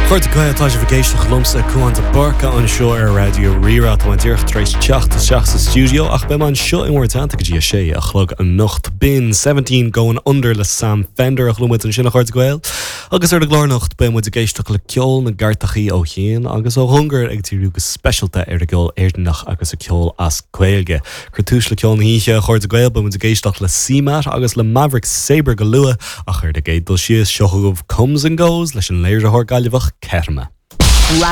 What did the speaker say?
A chairde Gael, tá sibh ag éisteacht liomsa, Cúán de Búrca, anseo ar Raidió Rí-Rá. Tá mé díreach tar éis teacht isteach sa stiúideo ach beidh mé anseo in bhur dteannta go dtí a sé a chlog anocht. B'in 17 Going Under le Sam Fender a chuala muid ansin, a chairde Gael. Agus ar an gclár anocht beidh muid ag éisteacht le ceol na gcairteachaí ó chian agus ó chóngar, ag díriú go speisialta ar an gceol Éireannach agus an ceol as Gaeilge. Ag cur tús le ceol na hoíche, a chairde Gael, beidh muid ag éisteacht le CMAT agus le Maverick Sabre go luath, ach ar an gcéad dul síos, seo chugaibh Comes and Goes leis an léiritheoir Gaillimheach Kettama.